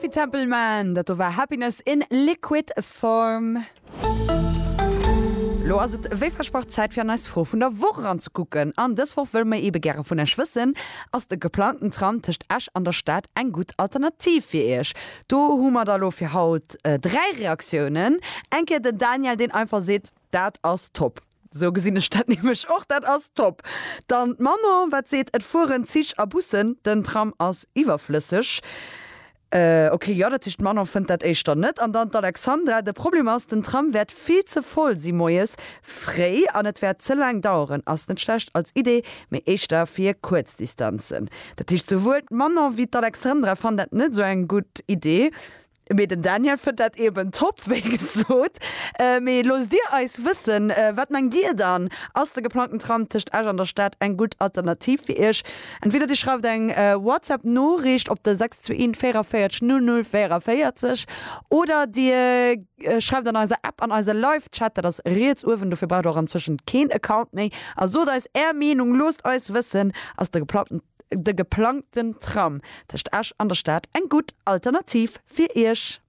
Coffee Temple Man, dat do war Happiness in Liquid Form. Lo ass et wéi versprach Zäit fir an eis Fro vun der Woch eranzekucken. An dës Woch wëlle mer eebe gäre vun Iech wëssen, Ass de geplangten Tram tëscht Esch an der Stad eng gutt Alternativ fir Iech? Do hu mer da lo fir haut 3 Reaktiounen. Eng Kéier den Daniel, deen einfach seet, Dat ass top. Sou gesinn ech dat nämlech och, dat ass top. Dann d'Manon, wat seet, Et fueren Zich a Bussen, den Tram ass iwwerflësseg. Ok, jo, dat heescht d'Manon fënnt dat éischter net. An dann d'Alexandra, De Problem ass, den Tram wäert vill ze voll si moies fréi an et wäert ze laang daueren. Ass net schlecht als Idee, mee éischter fir kuerz Distanzen. Dat heescht souwuel d'Manon wéi d'Alexandra fannen dat net esou eng gutt Idee. Mee den Daniel fënnt dat eben top, wéi gesot. Mee loosst dir eis wëssen, wat mengt dir dann? Ass de geplangten Tram tëscht Esch an der Stad eng gutt Alternativ fir iech? Entweder dir schreift eng WhatsApp Noriicht op de 621 44 00 44 oder dir schreift an eiser App an eise Live Chat, dat ass riets uewen, dofir braucht der och anzwëschent keen Account méi, a sot eis är Meenung, loosst eis wëssen, ass de geplangten De geplangten Tram tëscht Esch an der Stad eng gutt Alternativ fir Iech?